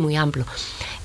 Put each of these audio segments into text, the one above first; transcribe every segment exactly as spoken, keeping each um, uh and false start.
moi amplo.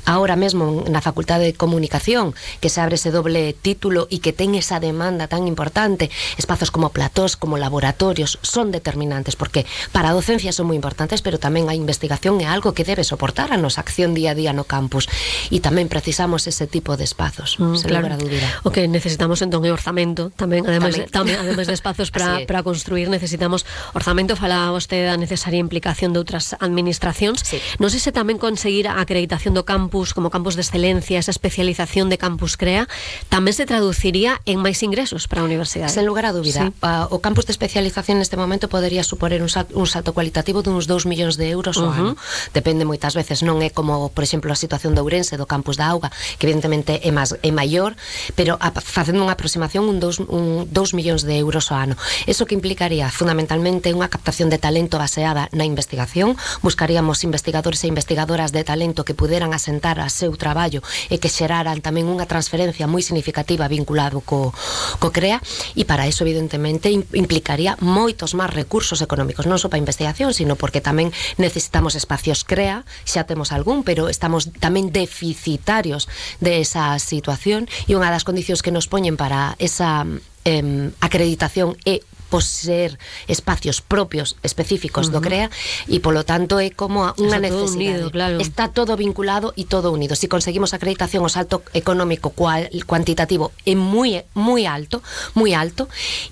Ahora mesmo na Facultade de Comunicación, que se abre ese doble título e que ten esa demanda tan importante, espazos como platós, como laboratorios, son determinantes, porque para a docencia son moi importantes, pero tamén a investigación é algo que debe soportar a nosa acción día a día no campus, e tamén precisamos ese tipo de espazos, mm, sen claro. lugar a dúbida. O que necesitamos entón é orzamento, tamén, ademais, tamén. De, tamén, ademais de espazos para para construir, necesitamos orzamento. Falaba vostede da necesaria implicación de outras administracións. Sí. Non sei se tamén conseguir a acreditación do campus como campus de excelencia, esa especialización de Campus Crea, tamén se traduciría en máis ingresos para a universidade. Sen lugar a dúbida. Sí. Uh, o campus de especialización neste momento podería suponer un salto, un salto cualitativo duns dous millóns de euros ao uh-huh. ano. Depende moitas veces, non é como, por exemplo, a situación de Ourense, do campus da Auga, que evidentemente é, máis, é maior, pero a, facendo unha aproximación un dous, un dous millóns de euros ao ano. Eso que implicaría fundamentalmente unha captación de talento baseada na investigación. Buscaríamos investigadores e investigadoras de talento que puderan asentar a seu traballo e que xeraran tamén unha transferencia moi significativa vinculado co, co CREA, e para eso evidentemente implicaría moitos máis recursos económicos, non só para investigación, sino porque tamén necesitamos espacios CREA, xa temos algún, pero estamos tamén deficitarios de esa situación, e unha das condicións que nos poñen para esa eh, acreditación é poseer espacios propios específicos uh-huh. do CREA, e polo tanto é como unha necesidade. Unido, claro. Está todo vinculado e todo unido. Si conseguimos acreditación, o salto económico cual, cuantitativo é moi moi alto, moi alto,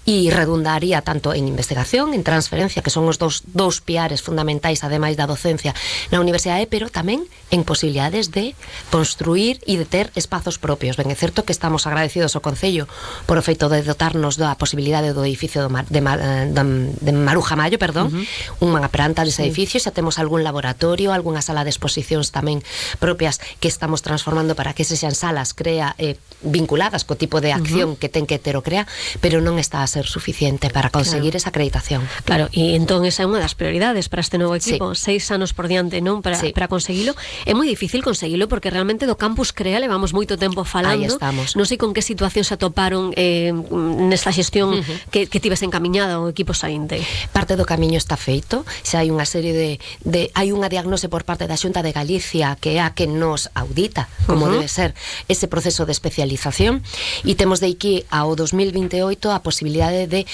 e redundaría tanto en investigación, en transferencia, que son os dous, dous piares fundamentais ademais da docencia na universidade, pero tamén en posibilidades de construir e de ter espazos propios. Ben, é certo que estamos agradecidos ao Concello por o feito de dotarnos da posibilidade do edificio do Mar de, de, de Maruja Mayo, perdón, uh-huh. unha planta dese edificio, xa temos algún laboratorio, algunha sala de exposicións tamén propias que estamos transformando para que se sean salas CREA eh, vinculadas co tipo de acción uh-huh. que ten que ter o CREA, pero non está a ser suficiente para conseguir claro. esa acreditación. Claro, e entón esa é unha das prioridades para este novo equipo, sí. seis anos por diante, non? Para, sí. para conseguilo. É moi difícil conseguilo porque realmente do Campus CREA levamos moito tempo falando. Aí estamos. Non sei con que situación se atoparon eh, nesta xestión uh-huh. que, que tives encaminhada o equipo saínte. Parte do camiño está feito, xa hai unha serie de, de hai unha diagnose por parte da Xunta de Galicia que é a que nos audita como uh-huh. debe ser ese proceso de especialización, e temos de aquí ao dos mil vinte e oito a posibilidade de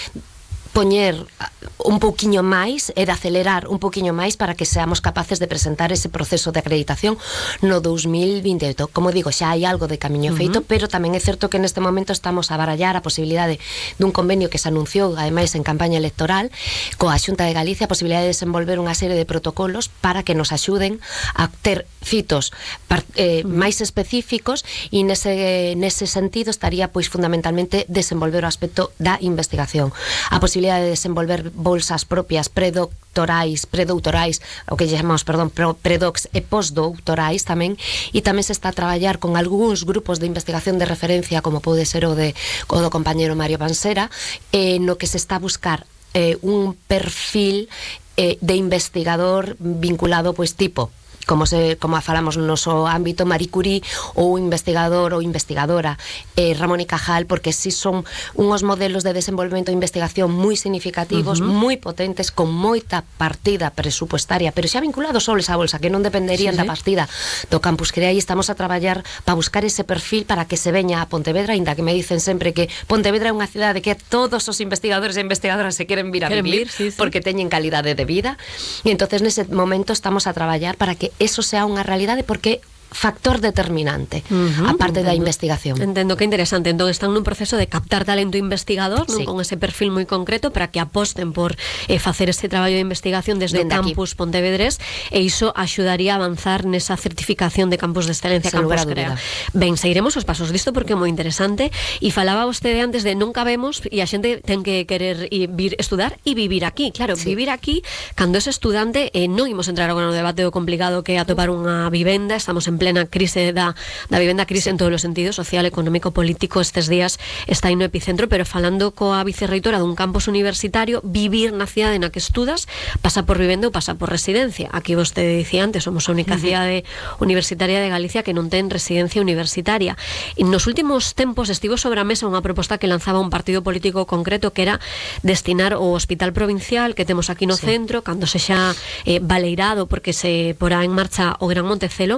poñer un pouquiño máis e de acelerar un pouquiño máis para que seamos capaces de presentar ese proceso de acreditación no dos mil vinte e oito. Como digo, xa hai algo de camiño uh-huh. feito, pero tamén é certo que neste momento estamos a barallar a posibilidade dun convenio que se anunciou ademais en campaña electoral coa Xunta de Galicia, a posibilidade de desenvolver unha serie de protocolos para que nos axuden a ter fitos eh, uh-huh. máis específicos, e nese, nese sentido estaría pois fundamentalmente desenvolver o aspecto da investigación, a posibilidade de desenvolver bolsas propias predoctorais, predoutorais, o que chamamos, perdón, predocs e postdoutorais tamén, e tamén se está a traballar con algúns grupos de investigación de referencia, como pode ser o, de, o do compañero Mario Pansera, eh, no que se está a buscar eh, un perfil eh, de investigador vinculado, pois, tipo como se como falamos no noso ámbito Marie Curie, ou investigador ou investigadora eh, Ramón y Cajal, porque si son unhos modelos de desenvolvemento de investigación moi significativos, uh-huh. moi potentes, con moita partida presupuestaria, pero xa vinculados só esa bolsa, que non dependerían sí, sí. da partida do Campus CREA, e estamos a traballar para buscar ese perfil para que se veña a Pontevedra, ainda que me dicen sempre que Pontevedra é unha cidade que todos os investigadores e investigadoras se queren vir a queren vivir, vir, sí, sí. porque teñen calidade de vida, e entonces nese momento estamos a traballar para que eso sea unha realidade, porque factor determinante uh-huh, a parte entendo. Da investigación. Entendo, que interesante. Entón están nun proceso de captar talento investigador, non? Sí. Con ese perfil moi concreto para que aposten por eh, facer ese traballo de investigación desde Dende o campus aquí. Pontevedrés, e iso axudaría a avanzar nesa certificación de campus de excelencia, Sen Campus CREA. Ben, seguiremos os pasos disto porque é moi interesante, e falaba vostede antes de non cabemos e a xente ten que querer ir, vir estudar e vivir aquí. Claro, sí. vivir aquí, cando es estudante, eh, non imos entrar agora no debate do complicado que é atopar unha vivenda, estamos en plena crise da, da vivenda, crise sí. en todos os sentidos, social, económico, político, estes días está aí no epicentro, pero falando coa vicerreitora dun campus universitario, vivir na cidade na que estudas pasa por vivenda ou pasa por residencia. Aquí vostede dicía antes, somos a única uh-huh. cidade universitaria de Galicia que non ten residencia universitaria. E nos últimos tempos estivo sobre a mesa unha proposta que lanzaba un partido político concreto, que era destinar o hospital provincial que temos aquí no sí. centro, cando se xa eh, baleirado porque se porá en marcha o Gran Montecelo,